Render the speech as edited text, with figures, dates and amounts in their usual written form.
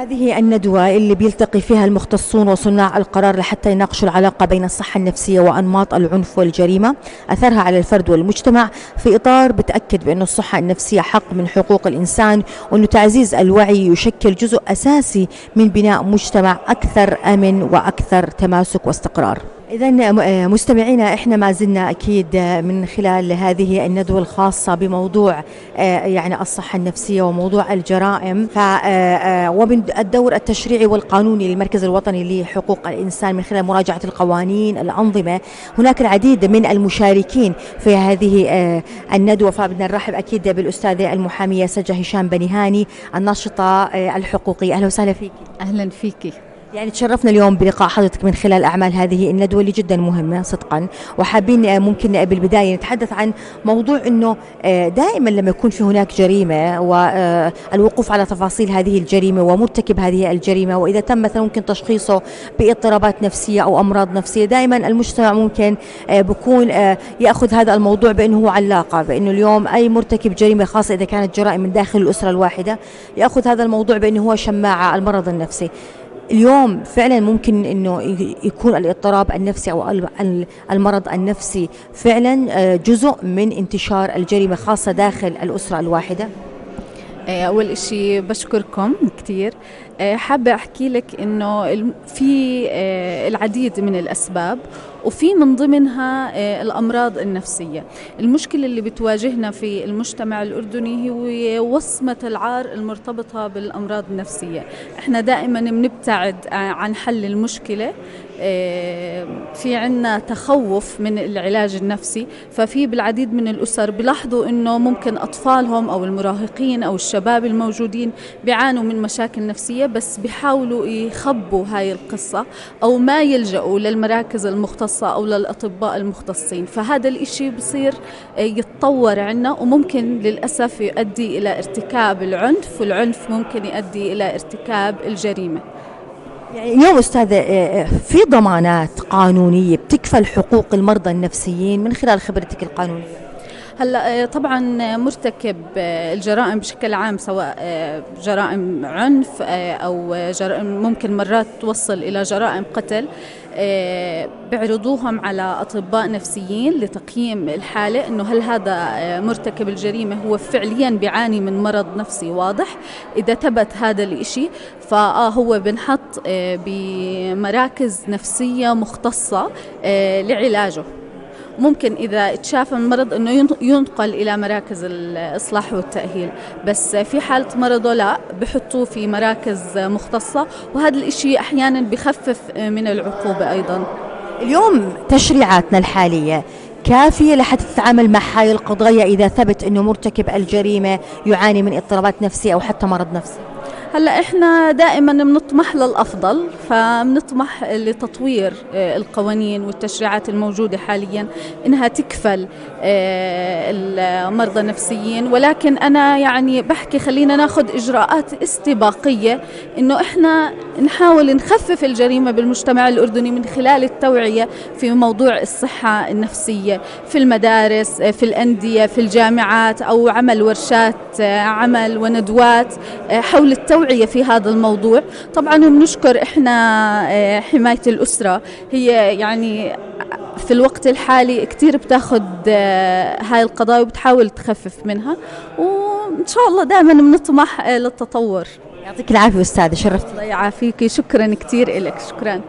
هذه الندوة اللي بيلتقي فيها المختصون وصناع القرار لحتى يناقشوا العلاقة بين الصحة النفسية وأنماط العنف والجريمة أثرها على الفرد والمجتمع، في إطار بتأكد بأن الصحة النفسية حق من حقوق الإنسان، وأنه تعزيز الوعي يشكل جزء أساسي من بناء مجتمع أكثر أمن وأكثر تماسك واستقرار. إذن مستمعينا، إحنا ما زلنا أكيد من خلال هذه الندوة الخاصة بموضوع يعني الصحة النفسية وموضوع الجرائم، ومن الدور التشريعي والقانوني للمركز الوطني لحقوق الإنسان من خلال مراجعة القوانين الأنظمة. هناك العديد من المشاركين في هذه الندوة، فبدنا نرحب أكيد بالأستاذة المحامية سجة هشام بنيهاني الناشطة الحقوقية. أهلا وسهلا فيك. أهلا فيكي. يعني تشرفنا اليوم بلقاء حضرتك من خلال أعمال هذه الندوة اللي جدا مهمة صدقا، وحابين ممكن بالبداية نتحدث عن موضوع أنه دائما لما يكون في هناك جريمة والوقوف على تفاصيل هذه الجريمة ومرتكب هذه الجريمة، وإذا تم مثلا ممكن تشخيصه باضطرابات نفسية أو أمراض نفسية، دائما المجتمع ممكن بكون يأخذ هذا الموضوع بأنه هو علاقة، بأنه اليوم أي مرتكب جريمة خاصة إذا كانت جرائم من داخل الأسرة الواحدة يأخذ هذا الموضوع بأنه هو شماعة المرض النفسي. اليوم فعلا ممكن انه يكون الاضطراب النفسي او المرض النفسي فعلا جزء من انتشار الجريمة خاصة داخل الأسرة الواحدة. أول إشي بشكركم كتير. حابة أحكي لك إنه في العديد من الأسباب، وفي من ضمنها الأمراض النفسية. المشكلة اللي بتواجهنا في المجتمع الأردني هي وصمة العار المرتبطة بالأمراض النفسية. إحنا دائما بنبتعد عن حل المشكلة، في عنا تخوف من العلاج النفسي. ففي بالعديد من الأسر بلاحظوا إنه ممكن أطفالهم أو المراهقين أو الشباب الموجودين بيعانوا من مشاكل نفسية، بس بيحاولوا يخبوا هاي القصة أو ما يلجأوا للمراكز المختصة أو للأطباء المختصين. فهذا الإشي بصير يتطور عنا، وممكن للأسف يؤدي إلى ارتكاب العنف، والعنف ممكن يؤدي إلى ارتكاب الجريمة. يعني اليوم أستاذة في ضمانات قانونية بتكفل حقوق المرضى النفسيين من خلال خبرتك القانونية؟ هلا طبعا مرتكب الجرائم بشكل عام، سواء جرائم عنف أو جرائم ممكن مرات توصل إلى جرائم قتل، بيعرضوهم على أطباء نفسيين لتقييم الحالة، إنه هل هذا مرتكب الجريمة هو فعليا بيعاني من مرض نفسي واضح. إذا ثبت هذا الإشي فهو بنحط بمراكز نفسية مختصة لعلاجه. ممكن إذا اتشاف المرض إنه ينقل إلى مراكز الإصلاح والتأهيل، بس في حالة مرضه لا، بحطوه في مراكز مختصة، وهذا الإشي أحيانا بخفف من العقوبة أيضا. اليوم تشريعاتنا الحالية كافية لحتى تتعامل مع هاي القضايا إذا ثبت إنه مرتكب الجريمة يعاني من اضطرابات نفسية أو حتى مرض نفسي؟ هلا احنا دائما بنطمح للافضل، فبنطمح لتطوير القوانين والتشريعات الموجوده حاليا انها تكفل المرضى النفسيين، ولكن انا يعني بحكي خلينا ناخذ اجراءات استباقيه انه احنا نحاول نخفف الجريمه بالمجتمع الاردني من خلال التوعيه في موضوع الصحه النفسيه في المدارس، في الانديه، في الجامعات، او عمل ورشات عمل وندوات حول التوعية في هذا الموضوع. طبعا بنشكر احنا حماية الأسرة، هي يعني في الوقت الحالي كتير بتاخد هاي القضايا وبتحاول تخفف منها، وإن شاء الله دائما بنطمح للتطور. يعطيك العافية أستاذة، شرفتي. الله يعافيكي، شكرا كتير إلك. شكرا.